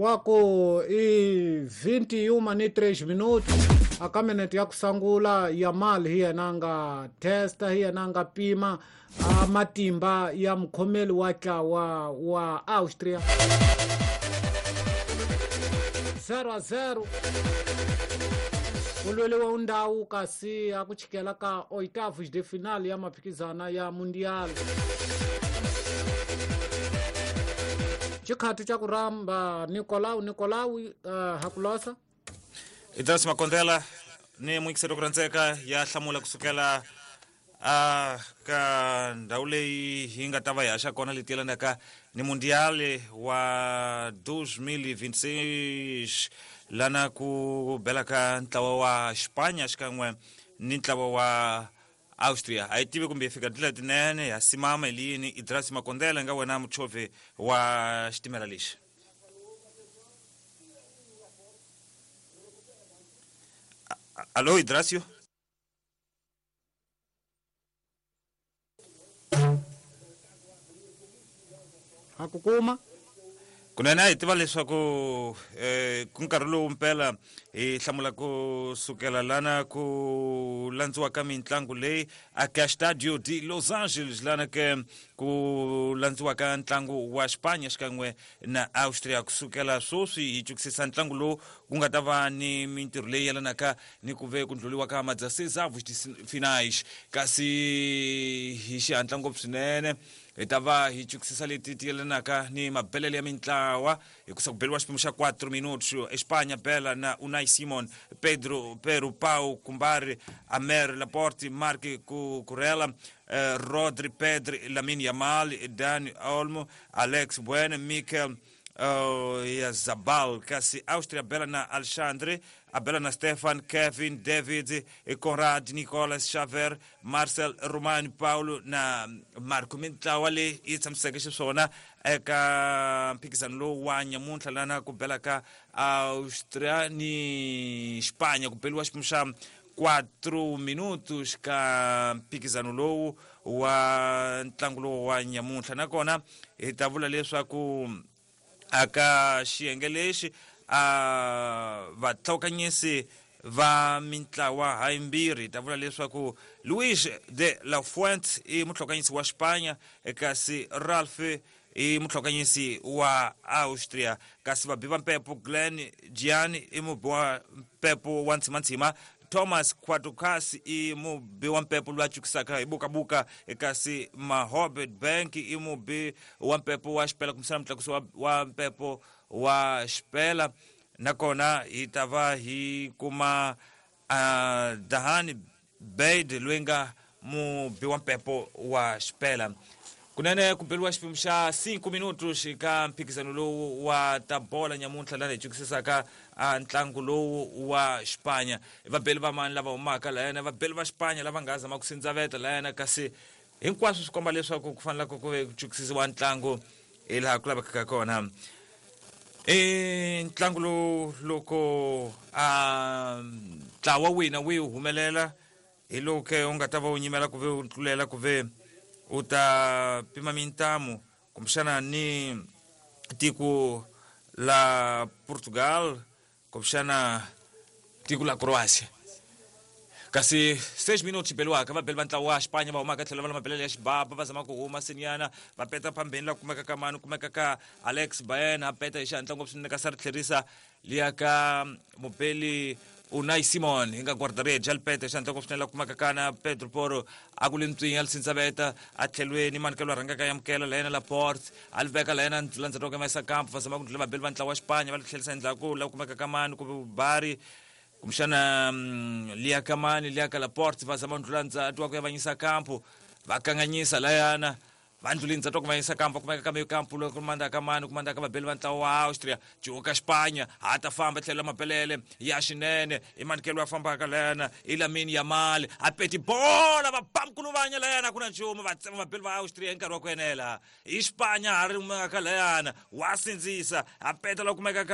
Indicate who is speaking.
Speaker 1: Nkarhi wa ku i 21 ni 3 minuti aka minete ya ku sungula ya mali hi yena a nga testa, hi yena a nga pima a matimba ya mukhomeli wa ntlawa wa Austria, 0-0. Ku lweliwa ndhawu kasi a ku chikela ka oitavos de final ya maphikizana ya Mundial. Xikhati xa ku rhamba Nicolau, Nicolau, hakulosa.
Speaker 2: Idras Makondela ni muyingiseri ku rhandzeka ya hlamula kusukela a ka ndhawu leyi hi nga ta va hi haxa kona leti yelanaka ni Mundial wa 2026, lana ku bela ka ntlawa wa Xipanya xikan'we ni ntlawa wa Austria. A yi tivi kumbe hi fika tindlela tinene ya simama hi liyini. Idras Makondela, nga wena muchovhi wa xitimela lexi. Alo, Idrasio.
Speaker 1: Ha ku kuma.
Speaker 2: Kunene a hi tiva leswaku ku nkarhi lowu mpela hi hlamula ku sukela lana ku landziwa ka mitlangu leyi aka Stadio de Los Angeles, lana ke ku landziwa ka ntlangu wa Xipanya xikan'we na Austria. Kusukela sweswi hi cukisisa ntlangu lowu ku nga ta va ni mintirho leyi yelanaka ni ku ve ku ndlhuliwa ka ma-16avos de finais, kasi hi xihatla ngopfu swinene hi ta va hi cukisisa leti ti yelanaka ni mabelele ya mintlawa hikusa ku beliwa xiphemu xa 4 minutos. Espanya bela na Unai Simon, Pedro Peru, Pau Kumbari, Amer Laporte, Marc Cucurella, Rodri, Pedri, Lamine Yamal, Dani Olmo, Alex Bueno, Mikel Zabal. Kasi Austria bela na Alexandre, abela na Stefan, Kevin, David, Conrad, Nicolas, Xaver, Marcel, Romani, Paulo na Marco. Mintlawa leyi yi tshamiseke xiswona eka mphikizano lowu wa nyamuntlha lana ku bela ka Austria ni Xipanya, ku beliwa xiphemu xa 4 minutos ka mphikizano lowu wa ntlangu lowu wa nyamuntlha. Nakona hi ta vula leswaku aka xiyenge lexi a vatlhokanyisi va mintlawa hayimbirhi, hi ta vula leswaku Luis de la Fuente i mutlhokanyisi wa Xipanya, kasi Ralph i mutlhokanyisi wa Austria. Kasi vabi va mpepo, Glenn Gian i mubi wa mpepo wa ntsimantsima, Thomas Quatucas i mubi wa mpepo loyi a cukisaka hi bukabuka, kasi Mahobet Bank i mubi wa mpepo wa xipela, kumbisana mutlakusi wa mpepo wa xipela. Nakona hi ta va hi kuma Dahani Baid loyi nga mubi wa mpepo wa xipela. Kunene ku beliwa xiphemu xa 5 minutos ka mphikizano lowu wa ta bola nyamuntlha, lana hi cukisisaka a ntlangu lowu wa Xipanya. Vabeli va mani lava humaka layana? Vabeli va Xipanya lava nga zama ku sindzaveta layana, kasi hinkwaswo swi komba leswaku ku fanele ku ve ku cukisisiwa ntlangu hi laha ku lavekaka kona. I ntlangu lowu loko a ntlawa wina wihi humelela, hi lowu ke u nga ta va u nyimela ku ve u tlulela ku ve u ta pima mintamu kumbexana ni tiko la Portugal, kumbexana tiko la Croatia. Kasi 6 minutos beliwaka, vabeli va ntlawa wa Xipanya va humaka tlhelo va la mabelele ya xibaba, va zama ku huma sinyana, va peta phambeni la kumeka ka mani? Kumeka ka Alex Baena, a peta hi xihatla ngopfu swinene, kasi a ri tlherisa liya ka mubeli Unai Simon hi nga guarda-redes, a li peta hi xihatla ngopfu swinene la kumeka kana Pedro Poro, a ku le ntswinya, a li sindzaveta a tlhelweni manikelo a rhangaka yamukela la yena Laporte, a li veka la yena landzeriwaka maisa kampo. Va zama ku ndlula vabeli va ntlawa wa Xipanya, va li tlherisa endzhaku la kumeka ka mani? Ku bari kumbexana liya ka mani? Liya ka Laporte. Va zama ndlula ndzati wa ku yavanyisa kampo, va kanganyisa layana, va ndluli ndzati wa ku vanyisa kampo, kumeka ka meyo kampo loko kumanda ka mani? Kumanda ka vabeli va ntlawa wa Austria. Cuka Xipanya ha ta famba tlhelo la mabelele ya xinene, i manikelo ya fambaka layana, i Lamine Yamal, a peti bola, va bamkuluvanya layana, ku na nchumu, va tsema vabeli va Austria hi nkarhi wa ku enela. I Xipanya ha ri kumeka layana, wa sindzisa, a peta la kumeka ka